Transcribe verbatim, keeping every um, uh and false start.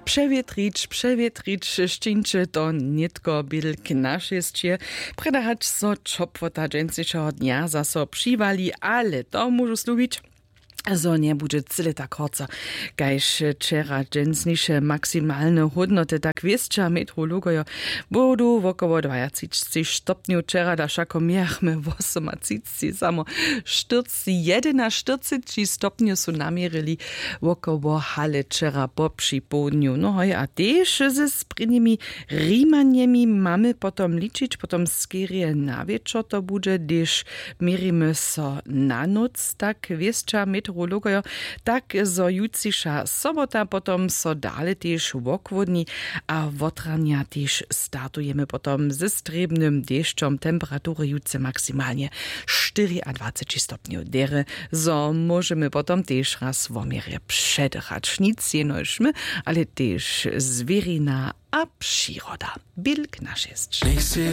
Přewětrić přewětrić, šćińće to nětko bědl k našesće, prjedy hač so ćopłota dźensnišeho dnja zaso přiwali, ale to móžu slubić, zo njebudźe cyle tak horco kaž wčera. Dźensniše maksimalne hódnoty, tak wěsća metrologojo, budu wokoło dwajatřiceći stopnjow, wčera da wšako mějachmy wosomatřiceći, samo štyrc jedynaštyrceći stopnjow su naměrili wokoło hale wčera po připołdnju. No hoj, a tež ze sprěnimi rimanjemi mamy potom ličić, potom skerje na wječor to budźe, hdyž měrimy so na nóc, tak wěsća meteorologojo, tak zo jutřiša sobota potom so dale tež wochłodni, a wotranja tež startujemy potom ze strěbnym dešćom. Temperatury jutře maksimalnje štyriadwaceći stopnjow derje, zo móžemy potom tež raz wo měrje předychać. Nic jenož my, ale tež zwěrina a přiroda. Bilk na šěsć.